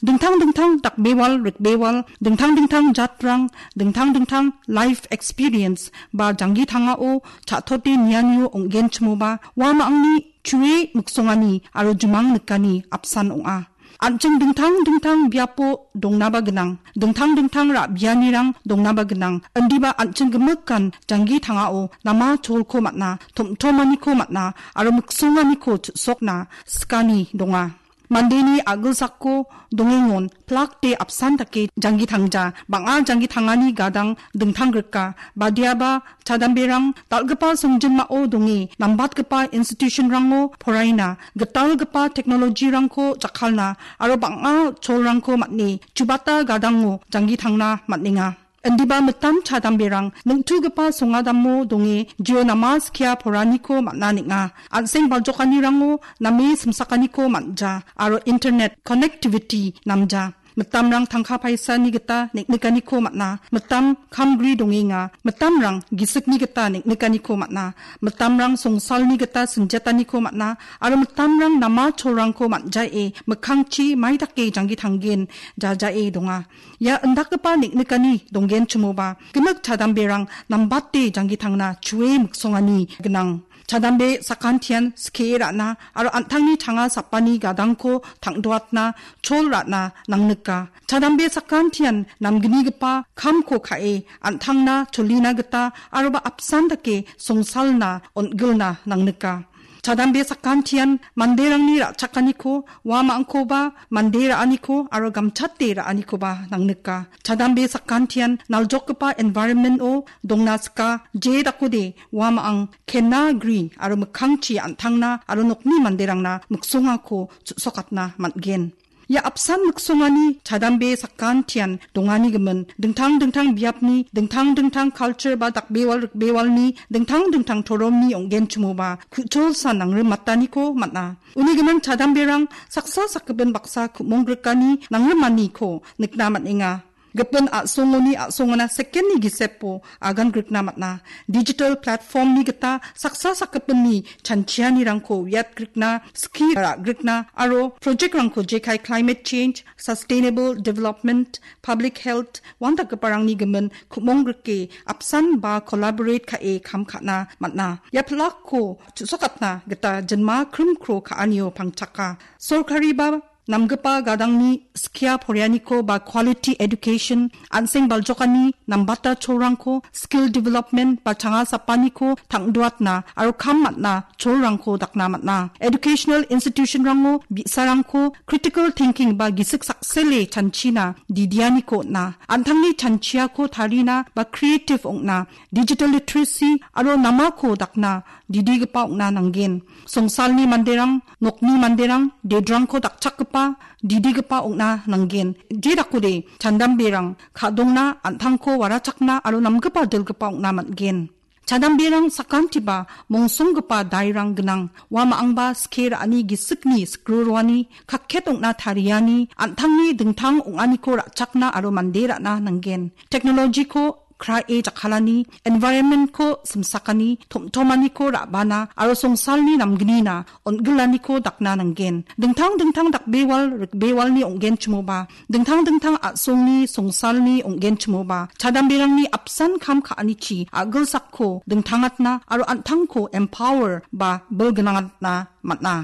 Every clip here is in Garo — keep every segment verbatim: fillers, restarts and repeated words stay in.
Dingtang dingtang dakbewal rikbewal, dingtang dingtang jatrang, dingtang dingtang life experience ba janggi tangao cha·tote nianio ong·genchimoba, uamangni chue miksongani aro jumang nikani apsan ong·a. An·ching dingtang dingtang biapo dongnaba gnang, dingtang dingtang ra·bianirang dongnaba gnang, indiba an·ching gimikan janggi tangao nama cholko man·a, tom·tomaniko man·a, aro miksonganiko chu·sokna sikani donga. Mandeni a·gilsako dongengon plakde apsan dake janggi tangja, bang·a janggi tangani gadang dingtang grika, badiaba chadamberang dal·gipa songjinmao donge nambatgipa institution-rango poraina, gitalgipa technology-rangko jakkalna aro bang·a cholrangko man·e chubata gadango janggi tangna man·enga. Indiba mitam chadamberang ningtugipa songadamo donge jio nama skia poraniko man·a neng·a. An·seng baljokanirango name simsakaniko man·ja aro internet connectivity namja. Mitamrang tangka paisani gita neng·nikaniko man·a. Mitam kamgri dongenga. Mitamrang gisikni gita neng·nikaniko man·a. Mitamrang songsalni gita sinjataniko man·a. Aro mitamrang nama cholrangko man·jae mikkangchi maidake janggi tanggen jajae donga. Ia indakgipa neng·nikani donggenchimoba, gimik chadamberang nambate janggi tangna chue miksongani gnang. Chadambe sakantian skie ra·na aro an·tangni changa sapani gadangko tang·doatna chol ra·na nangnika. Chadambe sakantian namgnigipa kamko ka·e an·tangna cholina gita aroba apsan dake songsalna on·gilna nangnika. Chadambe sakantian manderangni ra·chakaniko, uamangkoba mande ra·aniko aro gamchate ra·anikoba nangnika. Chadambe sakantian naljokgipa environment-o dongna sika, je dakode uamang kenna gri aro mikkangchi an·tangna aro nokni manderangna miksongako chu·sokatna man·gen. Ia apsan miksongani chadambe sakantian dongani gimin, dingtang dingtang biapni, dingtang dingtang culture ba dakbewal rikbewalni, dingtang dingtang toromni ong·genchimoba, ku·cholsa nangrimataniko man·a. Uni gimin chadamberang saksa sakgipin baksa ku·mong grikani nangrimaniko nikna man·enga. Gipin a·songoni a·songona sekenni gisepo agan grikna man·a. Digital platform-ni gita saksa sakgipinni chanchianirangko uiatgrikna, ski ra·grikna aro project-rangko jekai climate change, sustainable development, public health, uandakgiparangni gimin ku·mong grike apsan ba collaborate ka·e kam ka·na man·a. Ia pilakko chu·sokatna gita jinma krimkro ka·anio pangchaka. Sorkari ba namgipa gadangni skia porianiko ba quality education, an·seng baljokani nambata cholrangko, skill development ba changa sapaniko tang·doatna aro kam man·a cholrangko dakna man·a. Educational institution-rango bi·sarangko critical thinking ba gisik saksele chanchina didianiko on·a. An·tangni chanchiako tarina ba creative ong·na, digital literacy aro namako dakna didigipa ong·na nanggen. Songsalni manderang, nokni manderang, dedrangko dakchakgipa, didigipa ong·na nanggen. Je dakode, chadamberang, ka·dongna, an·tangko warachakna aro namgipa dilgipa ong·na man·gen. Chadamberang sakantiba mongsonggipa dairang gnang. Uamangba skie ra·ani gisikni sikruroani, kakket ong·na tariani, an·tangni dingtang ong·aniko ra·chakna aro mande ra·na nanggen. Technology-ko krae jakkalani, environment-ko simsakani, tom·tomaniko ra·bana aro songsalni namgnina on·gilaniko dakna nanggen. Dingtang dingtang dakbewal rikbewalni ong·genchimoba, dingtang dingtang a·songni songsalni ong·genchimoba, chadamberangni apsan kam ka·anichi a·gilsakko dingtangatna aro an·tangko empower ba bilgnangatna man·a.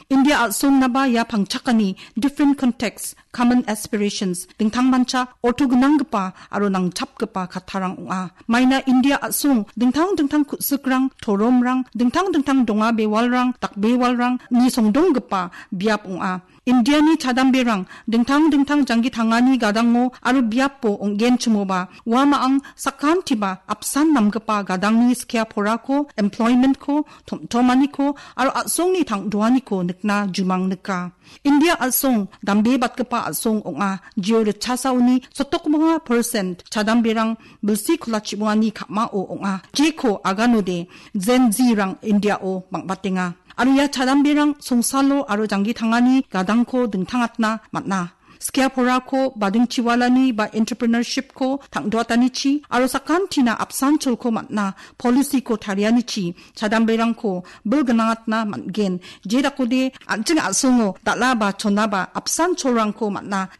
India a·songnaba ia pangchakani different context, common aspirations, dingtangmancha orto gnanggipa aro nangchapgipa kattarang ong·a. Maina India a·song dingtang dingtang ku·sikrang, toromrang, dingtang dingtang donga bewalrang, dakbewalrangni songdonggipa biap ong·a. Indiani chadamberang dingtang dingtang janggi tangani gadango aro biapo ong·genchimoba, uamang sakantiba apsan namgipa gadangni skia porako, employment-ko, tom·tomaniko aro a·songni tang·doaniko nikna jumang nika. India a·song dambebatgipa a·song ong·a, jio ritchasaoni sotokmonga percent chadamberang bilsi kolachimongani ka·mao ong·a. Jeko aganode Gen Z-rang India-o bang·batenga. Aro ia chadamberang songsalo aro janggi tangani gadangko dingtangatna man·a. Skia porako badingchiwalani ba entrepreneurship-ko tang·doatanichi aro sakantina apsan cholko man·a policy-ko tarianichi chadamberangko bilgnangatna man·gen. Jedakode an·ching a·songo dal·a ba chona ba apsan cholrangko man·a